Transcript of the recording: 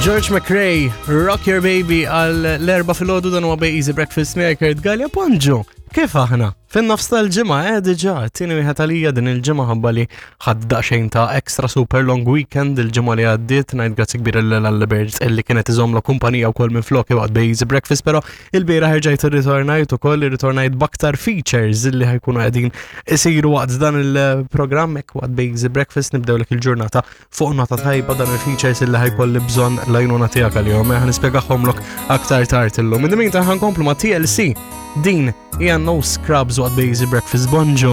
George McRae, Rock Your Baby għal l-erba filgħodu dan huwa Bej Easy Breakfast miegħi Kurt Gallia Bonġu. Kif aħna? Fin-nofs tal-ġimgħa eh diġà, tieni wieħed għalija din il-ġimgħa ħabba li ħadd daqsxejn ta' extra super long weekend il-ġimgħa li għaddiet, ngħid grazzi kbira lil Albert illi kienet iżomla kumpanija wkoll minn flok waqt Bej Easy Breakfast, però il-bieraħ erġajt irritornajt ukoll irritornajt b'aktar features illi ħajkunu qegħdin isiru waqt dan il-programm hekk waqt Bej Easy Breakfast nibdewlek il-ġurnata fuq nota tajba dan il-features illi ħajkolli bżonn l-għajnuna tiegħek għalihom, eh, nispjegahomlok aktar tard illum. In the meantime ħankomplu ma' TLC. Din hija No Scrubs waqt Basic Breakfast Bonġu.